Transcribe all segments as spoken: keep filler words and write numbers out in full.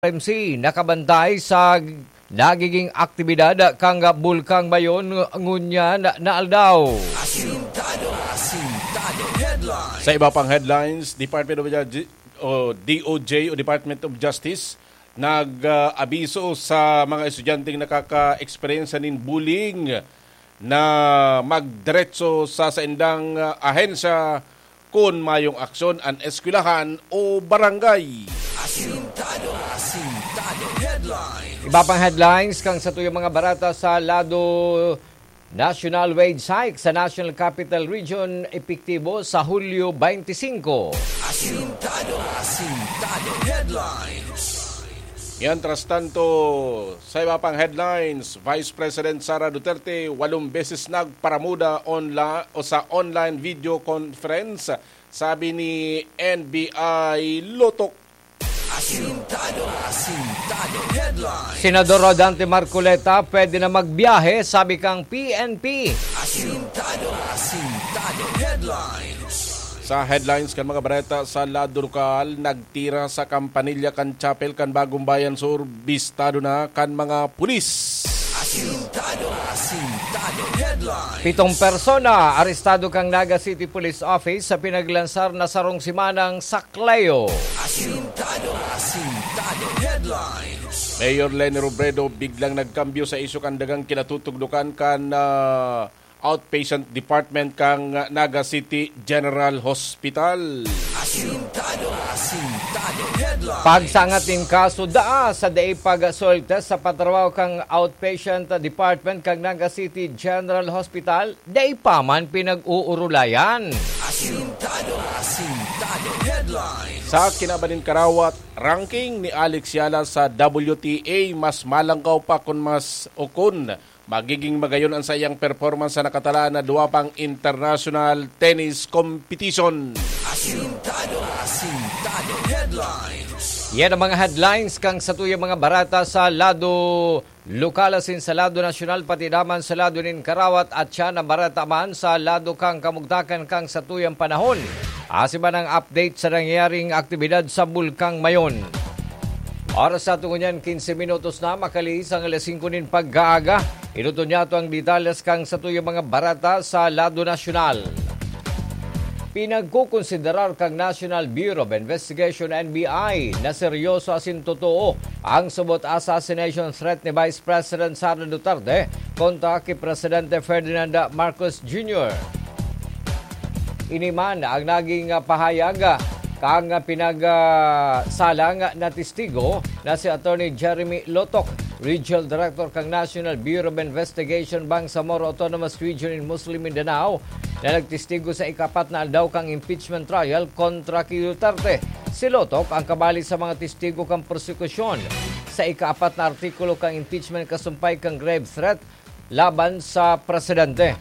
M C nakabantay sa nagiging aktibidad kan Bulkang Mayon ngunyan na aldaw. Asintado, Asintado Headlines. Sa iba pang headlines, Department of Ju-, o D O J o Department of Justice nag-abiso sa mga estudyanteng nakaka-eksperyensya nin bullying na magdiretso sa saindang, ah, ahensya kun mayong aksyon an eskwelahan o barangay. Asintado, Asintado Headlines. Iba pang headlines kan satuyang mga barata sa lado. National wage hike sa National Capital Region epektibo sa Hulyo twenty-five. Asintado, Asintado Headlines. Mientras tanto, sa iba pang headlines, Vice President Sara Duterte walong beses nagparamuda onla-, o sa online video conference, sabi ni N B I Lotok. Asintado, Asintado Headlines. Senador Rodante Marcoleta pwede na magbiyahe, sabi kang P N P. Asintado, Asintado Headlines. Sa headlines kan mga bareta sa lado lokal, nagtira sa kampanilya kan chapel kan Bagong Bayan Sur, bistado na kan mga pulis. Asintado, Asintado Headlines. Pitong persona arestado kan Naga City Police Office sa pinaglansar na sarong semanang sakleo. Asintado, Asintado Headlines. Mayor Leni Robredo biglang nagkambyo sa isyu kan dagang kinatutugdukan kan, ah, outpatient department kan Naga City General Hospital. Asintado, Asintado Headlines. Pagsangat nin kaso daa sa dai pag-soil test sa patrabaho kan outpatient department kan Naga City General Hospital, dai pa man pinag-uurulayan. Asintado, Asintado Headlines. Sa kinaban nin karawat, ranking ni Alex Yala sa W T A mas malangkaw pa kun mas o kun magiging magayon an saiyang performance sa nakatalaan na duwa pang international tennis competition. Asintado, Asintado Headlines. Yan ang mga headlines kan satuyang mga barata sa lado lokal asin sa lado nasyonal, pati naman sa lado nin karawat, at siya na barata man sa lado kan kamugtakan kan satuyang panahon. Asin man ang update sa nangyayaring aktibidad sa Bulkang Mayon. Oras sa aton ngunyan, quince minutos na makalihis ang alas singko nin pag-aaga. Inuton niyato ang detalles kan satuyang mga barata sa lado nasyonal. Pinagkukonsiderar kan National Bureau of Investigation, N B I, na seryoso asin totoo ang subot assassination threat ni Vice President Sara Duterte kontra ki Presidente Ferdinand Marcos Junior. Ini man ang naging, ah, pahayag, ah, kan, ah, pinag, ah, salang na testigo na si Attorney Jeremy Lotok, Regional Director kan National Bureau of Investigation, Bangsamoro Autonomous Region in Muslim Mindanao, na nagtestigo sa ikapat na aldaw kan impeachment trial kontra ki Duterte. Si Lotok ang kabali sa mga testigo kan prosekusyon sa ikaapat na artikulo kan impeachment kasumpay kan grave threat laban sa presidente.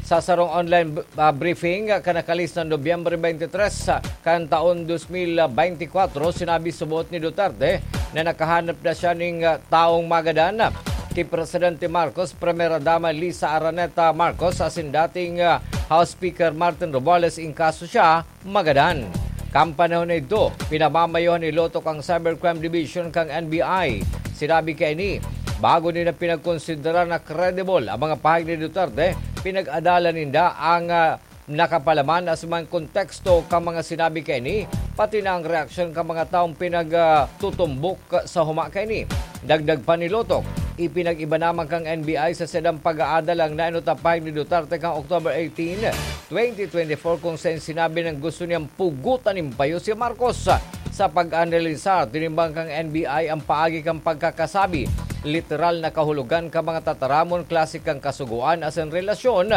Sa sarong online b-, ah, briefing, ah, kan nakalis na Nobyembre twenty-three, ah, kan taon twenty twenty-four, sinabi subot ni Duterte na nakahanap na siya ning, ah, taong magadan ki Presidente Marcos, Primera Dama Lisa Araneta Marcos, asin dating, ah, House Speaker Martin Romualdez, in kaso siya magadan. Kan panahon na idto, pinamamayohan ni Lotok ang Cybercrime Division kan N B I. Sinabi kaini, bago nila pinagkonsidera na credible ang mga pahayag ni Duterte, pinag-adalan ninda ang, ah, nakapalaman asin man konteksto kan mga sinabi kaini, pati na ang reaksyon kan mga taong pinag, ah, tutumbok sa huma kaini. Dagdag pa ni Lotok, ipinag-iba naman kan N B I sa saindang pag-aadal ang nainot na pahayag ni Duterte kan October eighteen, twenty twenty-four, kung saen sinabi nang gusto niyang pugotan nin payo si Marcos. Sa pag-analisar, tinimbang kan N B I ang paagi kan pagkakasabi, literal na kahulogan kan mga tataramon, klase kan kasugoan asin relasyon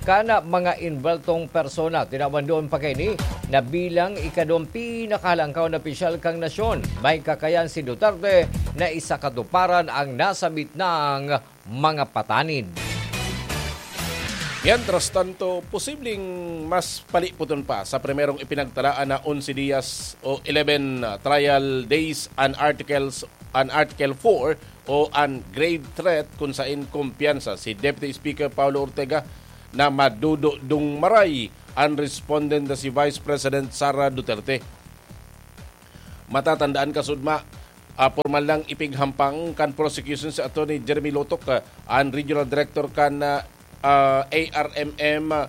kan mga involtong persona. Tinawan duon pa kaini na bilang ikaduwang pinakahalangkaw na opisyal kan nasyon, may kakayan si Duterte na isakatuparan ang nasabit nang mga patanid. Mientras tanto, posibleng mas palipoton pa sa primerong ipinagtalaan na onse diyas o eleven trial days an Articles, an Article four o an grave threat, kun saen kumpiyansa si Deputy Speaker Paolo Ortega na madudodong maray an respondent na si Vice President Sara Duterte. Matatandaan, kasudma, Ah, pormal nang ipighampang kan prosecution si Attorney Jeremy Lotok, ah, an regional director kan, ah, ah, A R M M, ah,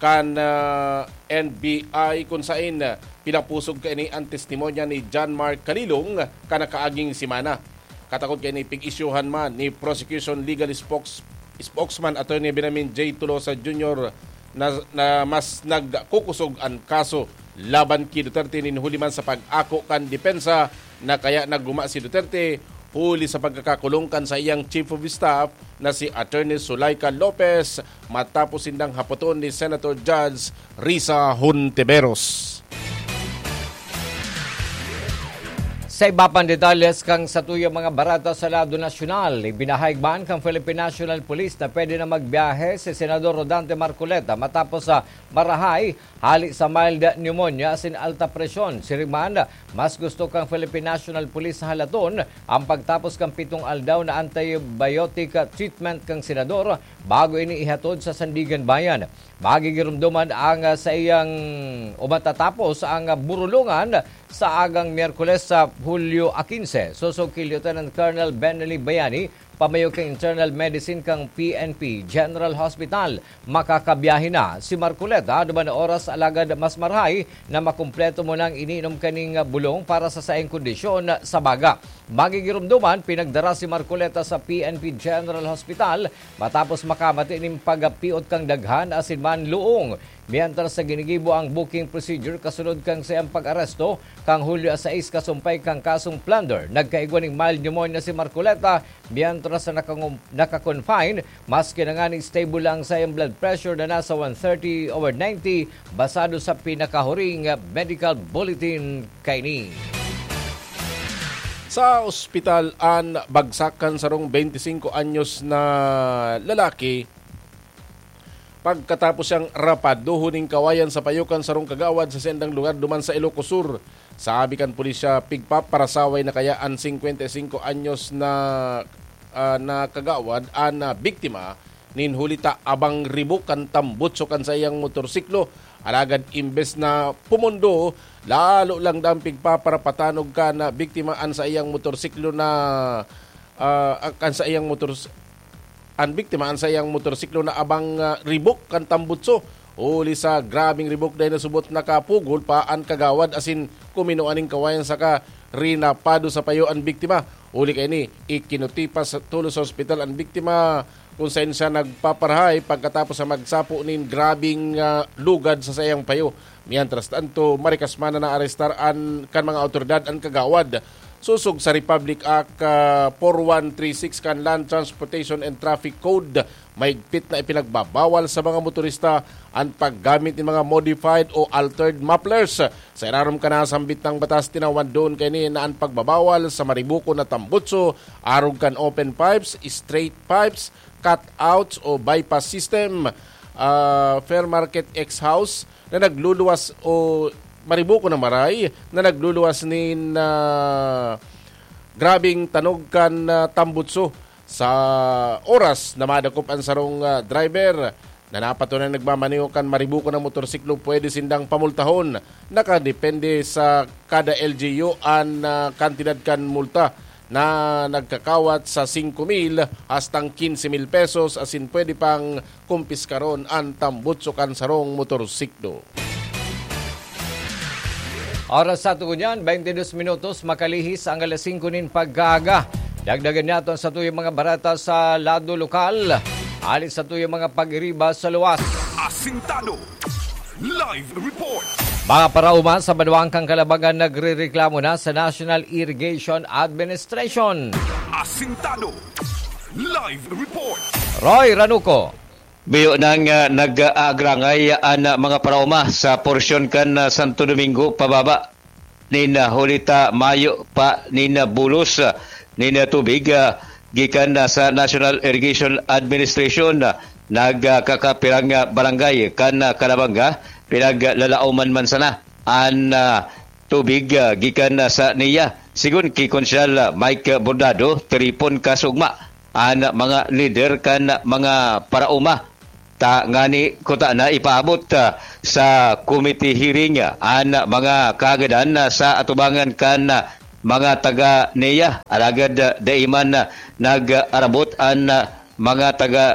kan, ah, N B I, kun sain, ah, pinapusog kaini an testimonya ni John Mark Kalilong kan nakaaging semana. Katakod kaini, pig-isyuhan man ni prosecution legal spokes-, spokesman Attorney Benjamin J Tolosa Junior na, na mas nagkukusog an kaso laban ki Duterte nin huli man sa pag-ako kan depensa na kaya naguma si Duterte huli sa pagkakakulong kan saiyang chief of staff na si Attorney Zuleika Lopez matapos sindang hapoton ni Senator Judge Risa Hontiveros. Sa iba pang detalles kan satuyang mga bareta sa lado nasyonal, ibinahayag man kan Philippine National Police na pwede na magbiyahe si Senador Rodante Marcoleta matapos sa marahay hali sa mild pneumonia asin alta presyon. Siring man, mas gusto kan Philippine National Police na halaton ang pagtapos kan pitong aldaw na antibiotic treatment kan senador bago ini ihatod sa Sandiganbayan. Magigiromdoman ang, ah, saiyang o matatapos ang, ah, burulungan sa agang Miyerkules sa Hulyo a quince. Sosog ki Lieutenant Colonel Benelli Bayani, pamayo kan Internal Medicine kan P N P General Hospital. Makakabiyahe na si Marcoleta duman na oras, alagad mas marahay na makumpleto mo nang iniinom kaning bulong para sa saiyang kondisyon sa baga. Magigiromdoman, pinagdara si Marcoleta sa P N P General Hospital matapos makamati nin pagpiot kan daghan asin man luong. Mientras sa ginigibo ang booking procedure kasunod kan saiyang pag-aresto kan Hulyo a sais kasumpay kan kasong plunder, nagkaigwa nin mild pneumonia si Marcoleta mientras sa nakangum-, naka-confine, maski na ngani stable lang saiyang blood pressure na nasa one thirty over ninety, basado sa pinakahuring medical bulletin kaini. Sa ospital an bagsak kan sarong twenty-cinco anyos na lalaki pagkatapos siyang rapaduhon nin kawayan sa payo kan sarong kagawad sa saindang lugar duman sa Ilocos Sur. Sabi kan pulisya, pigpaparasaway na kaya an singkwenta y singko anyos na, ah, na kagawad an, ah, biktima nin huli ta abang ribok kan tambutso kan saiyang motorsiklo. Alagad imbes na pumundo, lalo lang daang pigpaparapatanog kan, ah, biktima an saiyang motorsiklo na, ah, kan saiyang motor-, an biktima an saiyang motorsiklo na abang, ah, ribok kan tambutso. Huli sa grabeng ribok, dai nasubot nakapugol pa an kagawad asin kuminua nin kawayan saka rinapado sa payo an biktima. Huli kaini, ikinutipas tolos sa ospital an biktima, kung saen siya nagpaparahay pagkatapos sa magsapo nin grabeng, ah, lugad sa saiyang payo. Mientras tanto, marikas man na naarestar an, kan mga awtoridad an kagawad. Sosog sa Republic Act, ah, four one three six kan Land Transportation and Traffic Code, mahigpit na ipinagbabawal sa mga motorista an paggamit nin mga modified o altered mufflers. Sa irarom kan nasambit na batas, tinawan duon kaini na an pagbabawal sa maribukon na tambutso, arog kan open pipes, straight pipes, cutouts o bypass system, ah, fair market X-house na nagluluwas o maribukon na maray na nagluluwas nin, ah, grabeng tanog kan, ah, tambutso. Sa oras na madakop an sarong, ah, driver na napatunay nagmamaneho kan maribukon na motorsiklo, pwede sindang pamultahon. Nakadepende sa kada L G U an, ah, kantidad kan multa na nagkakawat sa singko mil hastang kinse mil pesos, asin pwede pang kumpiskaron an tambutso kan sarong motorsiklo. Oras sa tugon yan, twenty-two minutos, makalihis ang alas singko nin pagkaaga. Dagdagan niya aton satuyang mga bareta sa lado lokal. Hali satuyang mga pag-iriba sa luwas. Asintado. Live report. Mga paraoma sa banwaan kan Calabangan nagrereklamo na sa National Irrigation Administration. Asintado. Live report. Roy Ranuco. Biyo nang, ah, nag-aagrangay an, ah, mga paraoma sa porsyon kan, ah, Santo Domingo pababa nin, ah, huli ta mayo pa nin, ah, bulos, ah, nin, ah, tubig, ah, gikan, ah, sa National Irrigation Administration. Ah, nagkakapirang, ah, barangay kan, ah, Calabanga, pinaglalaoman man sana an, ah, tubig, ah, gikan, ah, sa NIA. Sigon ki Konsyal, ah, Mike Bordado, tiripon ka sa ugma an mga lider kan mga paraoma. Ta ngani kuta na ipaabot, ah, sa committee hearing, ah, an mga kaagadan, ah, sa atubangan kan, ah, mga taga NEA. Alagad, ah, dai man, ah, nag-arabot an, ah, mga taga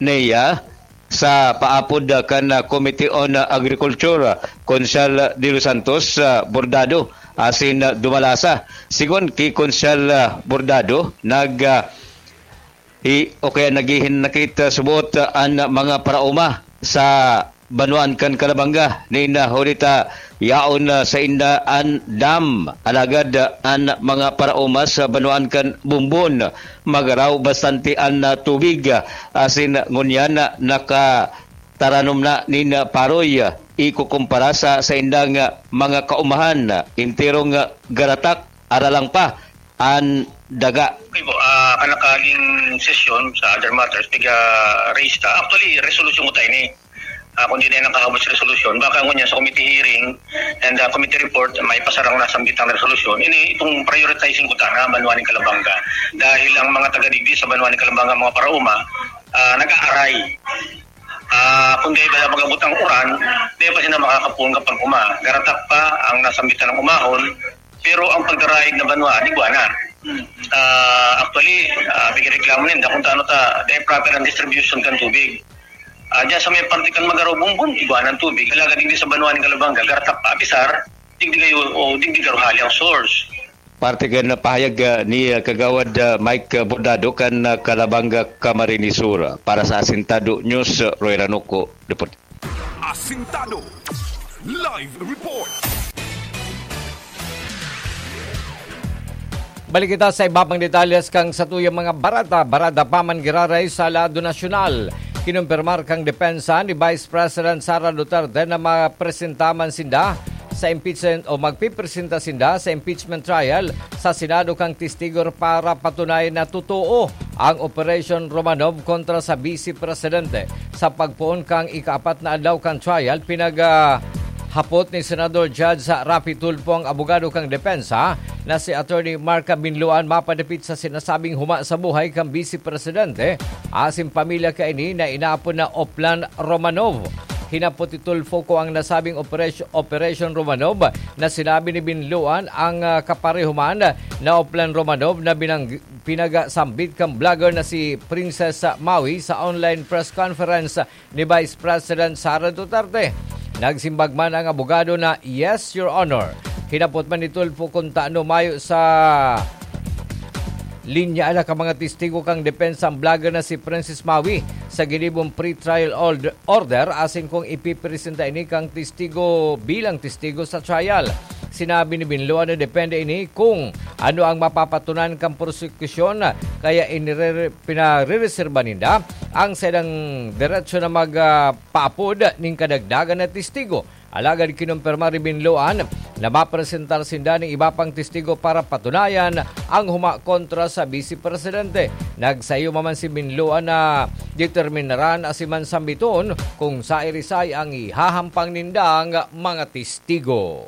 NEA sa paapod, ah, kan, ah, Committee on, ah, Agriculture, ah, Konsehal De Los Santos, ah, Bordado, asin, ah, Dumalasa. Sigon ki Konsehal, ah, Bordado, nag, ah, i-, o kaya naghihinakit, ah, subot, ah, an mga paraoma sa banwaan kan Calabanga. Nin, ah, huli ta yaon, ah, sainda an dam, alagad, ah, an mga paraoma sa banwaan kan Bumbon, magaraw bastante an, ah, tubig, ah, asin ngunyan, ah, nakataranom na nin, ah, paroy, ah, ikukumpara sa saindang, ah, mga kaumahan, ah, enterong, ah, garatak, aralang pa an daga. Okay po, ah, kan nakaaging sesyon sa other matters, piga-raise ta. Actually, resolution ko tayo ni. Ah, kung di na nakahabot sa resolution, baka ngunyan sa committee hearing and, ah, committee report, may pasarang nasambit ang resolution. Ini itong prioritizing ko ta na banwa ni Calabanga. Dahil ang mga taga-digdi sa banwa ni Calabanga, mga parauma, ah, nag-aaray. Ah, kung di ba mag-abot ang uran, di pa sila makakapuon kapag uma. Garatak pa ang nasambitan ng umahon, pero ang pagdaraig na banwa, di buwanan. Ah, actually, ah, bigyan reklamo ninda kung taano ta, di proper ang distribution kan tubig. Ah, diyan sa may parte kan Magaro Bumbon, igwa ng tubig. Talaga, digdi sa banwa ng Calabanga, garatak pa, apisar, digdi kayo, o digdi kayo hali ang source. Parte kan pahayag, ah, ni, ah, Kagawad, ah, Mike Bordado kan, ah, Calabanga, Camarines Sur. Para sa Asintado News, Roy Ranuco, Deput- Asintado Live Report. Balik kita sa iba pang detalles kan satuyang mga barada. Barada pa man giraray sa lado nasyonal. Kinumpirmar kan depensa ni Vice President Sara Duterte na mapresenta man sinda sa impeachment o magpipresenta sinda sa impeachment trial sa Senado kan testigo para patunayan na totoo ang Operation Romanov kontra sa Vice Presidente. Sa pagpoon kan ikaapat na adlaw kan trial, pinag, ah, hapot ni Senador Judge Raffy Tulfo ang abogado kan depensa na si Attorney Mark Binloan mapadapit sa sinasabing huma sa buhay kan Vice Presidente asin pamilya kaini na inaapod na Oplan Romanov. Hinapot ni Tulfo kung ang nasabing operas-, Operation Romanov na sinabi ni Binloan ang, ah, kapareho man na Oplan Romanov na binang-, pinagasambit kan vlogger na si Princess Maui sa online press conference ni Vice President Sara Duterte. Nagsimbag man ang abogado na, "Yes, Your Honor." Hinapot man ni Tulfo kung tano mayo sa linya na ka mga testigo kan depensa ang vlogger na si Princess Maui sa ginibong pre-trial ord-, order asin kung ipipresenta ini kan testigo bilang testigo sa trial. Sinabi ni Binloan na depende ini kung ano ang mapapatunayan kan prosekusyon, kaya inire-, pinarereserba ninda ang saindang derecho na mag, ah, paapod nin kadagdagan na testigo. Alagad kinumpirma ni Binloan na mapresentar sinda nin iba pang testigo para patunayan ang huma kontra sa Vice Presidente. Nagsayo man si Binloan na determinaran asin man sambiton kung sairisay ang ihahampang nindang mga testigo.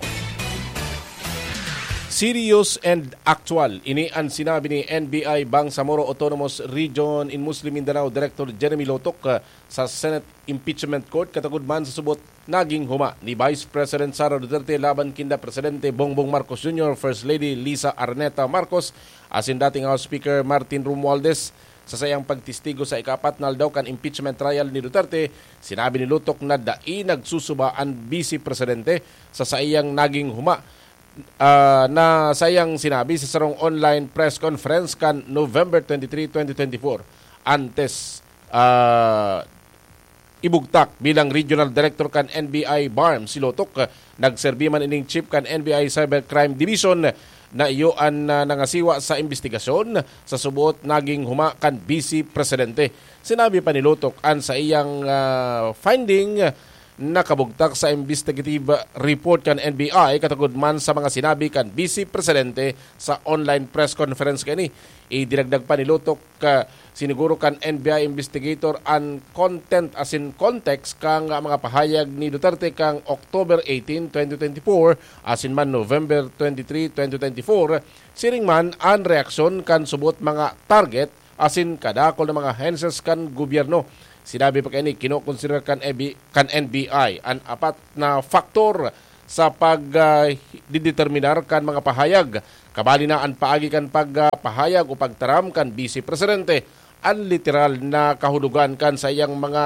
Serious and actual. Ini an sinabi ni N B I Bangsamoro Autonomous Region in Muslim Mindanao Director Jeremy Lotok, ah, sa Senate Impeachment Court, katagod man sa subot naging huma ni Vice President Sara Duterte laban kinda Presidente Bongbong Marcos Junior, First Lady Liza Araneta Marcos, asin dating House Speaker Martin Romualdez. Sa saiyang pagtestigo sa ikaapat na aldaw kan impeachment trial ni Duterte, sinabi ni Lotok na dai nagsusuba an Vice Presidente sa saiyang naging huma, ah, na saiyang sinabi sa sarong online press conference kan November twenty-three, twenty twenty-four. Antes, ah, ibugtak bilang Regional Director kan N B I BARMM si Lotok, nagserbi man ining chief kan N B I Cybercrime Division na iyo an, ah, nangasiwa sa imbestigasyon sa subot naging huma kan Vice Presidente. Sinabi pa ni Lotok an saiyang, ah, finding nakabugtak sa investigative report kan N B I katagod man sa mga sinabi kan Vice Presidente sa online press conference kaini. Idinagdag pa ni Lotok, ah, siniguro kan N B I investigator an content asin context kan mga pahayag ni Duterte kan October eighteen, twenty twenty-four, asin man November twenty-three, twenty twenty-four, siring man an reaksyon kan subot mga target asin kadakul na mga henses kan gobyerno. Sinabi pa kaini, kinokonsiderar kan N B I, kan N B I an apat na faktor sa pag, ah, dideterminar kan mga pahayag Kabali na an paagi kan pagpahayag o pagtaram kan Bise Presidente, an literal na kahulogan kan saiyang mga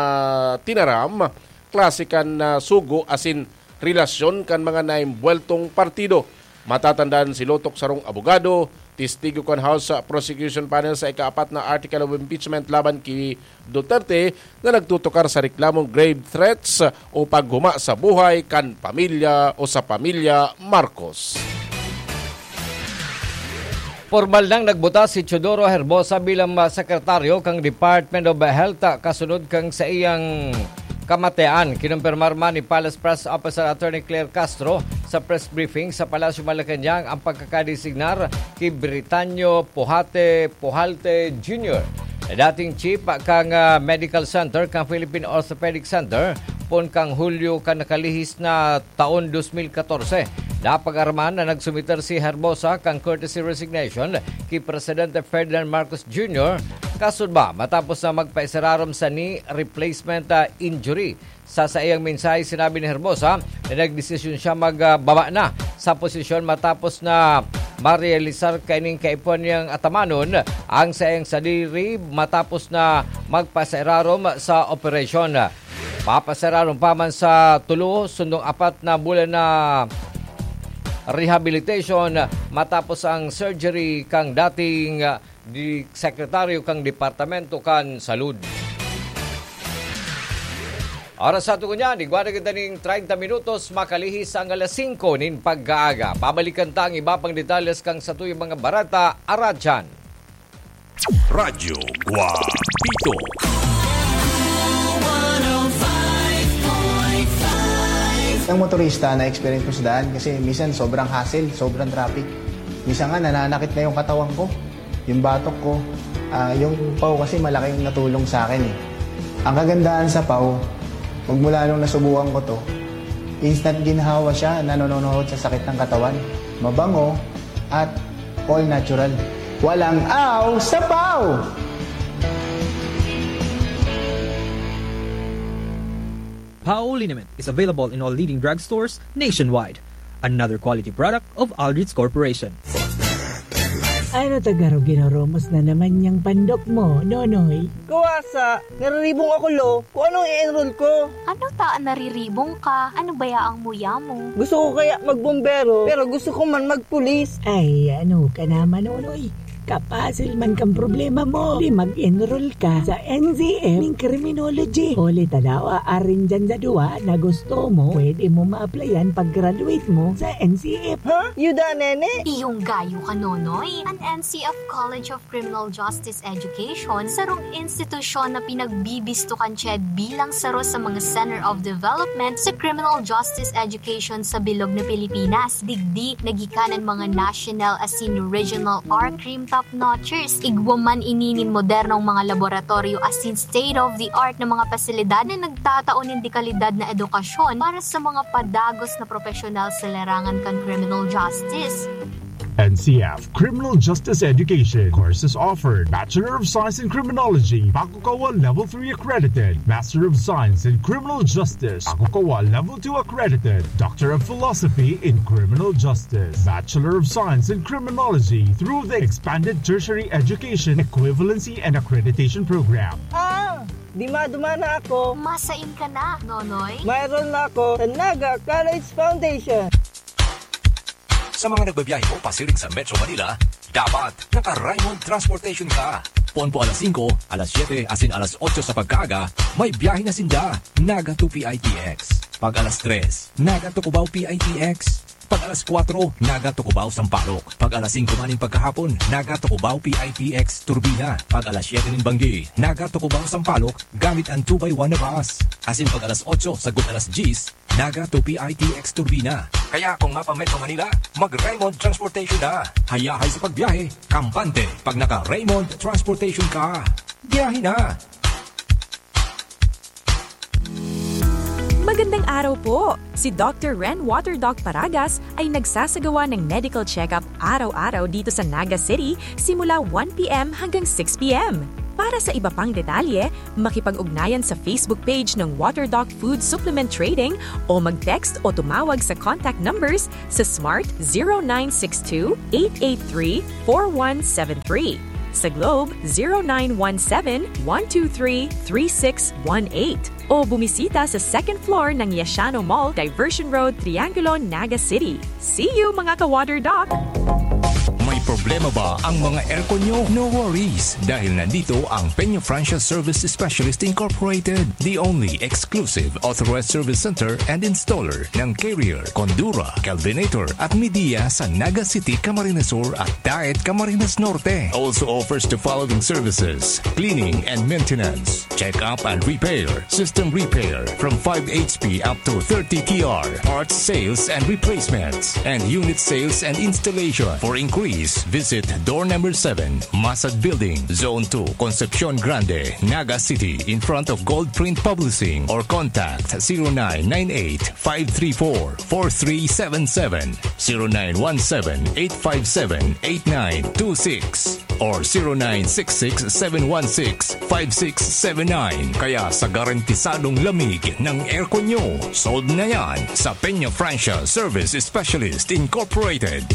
tinaram, klase kan, ah, sugo asin relasyon kan mga naimbuweltong partido. Matatandaan si Lotok sarong abogado, testigo kan House Prosecution Panel sa ikaapat na article of impeachment laban ki Duterte na nagtutukar sa reklamong grave threats o paghuma sa buhay kan pamilya o sa pamilya Marcos. Pormal nang nagbuta si Teodoro Herbosa bilang, ah, sekretaryo kan Department of Health, ah, kasunod kan saiyang kamatian. Kinumpirmar man ni Palace Press Officer Attorney Claire Castro sa press briefing sa Palasyo Malacañang ang pagkakadesignar ki Britanio Puhate Puhalte Junior, na dating chief kan, ah, Medical Center kan Philippine Orthopedic Center, poon kan Hulyo kan nakalihis na taon dos mil katorse. Napag-araman na nagsumiter si Herbosa kan courtesy resignation ki Presidente Ferdinand Marcos Junior, kasunod matapos na magpaisararom sa knee replacement, ah, injury. Sa saiyang mensahe, sinabi ni Herbosa na nagdesisyon siya magbaba na sa posisyon matapos na marealisar kaining kaipuhan niyang atamanon ang saiyang sadiri matapos na magpasairarom sa operasyon. Papasararon pa man sa tulo, sundong apat na bulan na rehabilitation matapos ang surgery kang dating, ah, di sekretaryo kang Departamento kan Salud. Oras sa tugon niya, igwa na kita ning treinta minutos, makalihis ang alas singko nin pagkaaga. Babalikan ta ang iba pang detalles kang satuyang mga bareta, aradyan. Radyo Guapito. Ang motorista na experience ko sa daan kasi minsan sobrang hassle, sobrang traffic. Minsan nga nananakit na yung katawan ko, yung batok ko. Ah, yung paw kasi malaking natulong sa akin eh. Ang kagandahan sa paw, magmula nung nasubukan ko to, instant ginhawa siya na nanonohod sa sakit ng katawan. Mabango at all natural. Walang aw sa paw! Pao liniment is available in all leading drugstores nationwide. Another quality product of Aldrich Corporation. Ano ta garo ginoromos na naman yang pandok mo, Nonoy? Kawasa, nariribong ako, lo. Kung anong i-enroll ko. Ano ta an nariribong ka? Ano baya ang muya mo? Gusto ko kaya magbombero, pero gusto ko man magpulis. Ay, ano ka naman, Nonoy? Kapasil man kang problema mo. Di mag-enroll ka sa N C F ning criminology. Huli ta daw, aarin dyan sa duwa na gusto mo, pwede mo ma-applyan pag-graduate mo sa N C F. Ha? Yuda, nene? Iyong gayo ka, Nonoy. An N C F College of Criminal Justice Education, sarong institusyon na pinagbibisto kan CHED bilang saro sa mga Center of Development sa criminal justice education sa bilog na Pilipinas. Digdi, nagikanan mga national asin regional or crime top notchers. Igwa man ini nin modernong mga laboratoryo asin state-of-the-art na mga pasilidad na nagtatao nin dekalidad na edukasyon para sa mga padagos na profesional sa larangan kan criminal justice. N C F Criminal Justice Education. Courses offered: Bachelor of Science in Criminology, Pakukawa Level three accredited; Master of Science in Criminal Justice, Pakukawa Level two accredited; Doctor of Philosophy in Criminal Justice, Bachelor of Science in Criminology through the Expanded Tertiary Education Equivalency and Accreditation Program. Ah! Duma-duma na ako. Masain ka na, Nonoy? Mayroon na ako sa Naga College Foundation. Sa mga nagbabiyahe po pasiring sa Metro Manila, dapat naka-Raymond Transportation ka. Poon po alas singko, alas siyete, asin alas otso sa pagkaaga, may biyahe na sinda. Naga to P I T X. Pag alas tres, Naga to Cubao P I T X. Pag alas kwatro, Naga to Cubao Sampaloc. Pag alas singko man nin pagkahapon, Naga to Cubao P I T X Turbina. Pag alas siyete nin banggi, Naga to Cubao Sampaloc gamit an two by one na bus. Asin pag alas otso sagkod alas dyes, Naga to P I T X Turbina. Kaya kung mapa-Metro Manila, mag-Raymond Transportation na. Hayahay sa pagbiyahe, kampante pag naka-Raymond Transportation ka. Biyahe na! Magandang araw po! Si Doctor Ren Water Doc Paragas ay nagsasagawa ng medical check-up araw-araw dito sa Naga City simula one P M hanggang six P M. Para sa iba pang detalye, makipag-ugnayan sa Facebook page ng Water Doc Food Supplement Trading o mag-text o tumawag sa contact numbers sa Smart zero nine six two, eight eight three, four one seven three, sa Globe zero nine one seven, one two three, three six one eight, o bumisita sa second floor ng Yashano Mall, Diversion Road, Triangulo, Naga City. See you, mga ka-Water Doc! May problema ba ang mga aircon nyo? No worries, dahil nandito ang Peña Francia Service Specialist Incorporated, the only exclusive authorized service center and installer ng Carrier, Condura, Kelvinator at Midea sa Naga City, Camarines Sur at Daet, Camarines Norte. Also offers the following services: cleaning and maintenance, check-up and repair, system repair from five H P up to thirty T R, parts sales and replacements, and unit sales and installation. For inquiries, visit door number seven, Masad Building, Zone two, Concepcion Grande, Naga City, in front of Gold Print Publishing, or contact zero nine nine eight, five three four, four three seven seven, zero nine one seven, eight five seven, eight nine two six or zero nine six six, seven one six, five six seven nine. Kaya sa garantisadong lamig ng aircon nyo, sold na yan sa Peña Francia Service Specialist Incorporated.